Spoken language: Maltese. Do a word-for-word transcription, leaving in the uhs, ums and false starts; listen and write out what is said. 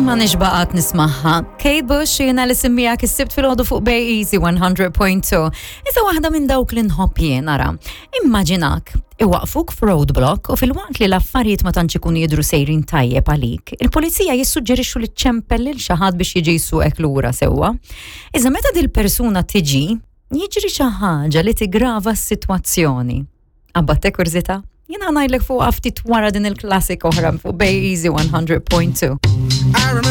Ma nixba' qatt nismagħha. Kate Bush jiena li semmijak is-Sibt filgħodu fuq Bay Easy one hundred point two. Issa waħda minn dawk li nħobb jien ara. Immaġinak, iwaqfuk f'roadblock u filwaqt li l-affarijiet ma tantx ikunu jidru sejrin tajjeb għalik, il-pulizija jissuġġerixxu li ċempel lil xi ħadd biex jiġi jsuqek lura sewwa. Iżda meta dil-persuna tiġi, jiġri xi ħaġa li tigrava s-sitwazzjoni. Qabbatek kurżità? Jiena ngħidlek fuq ftit wara din il-classic oħra fuq Bay Easy one hundred point two. I remember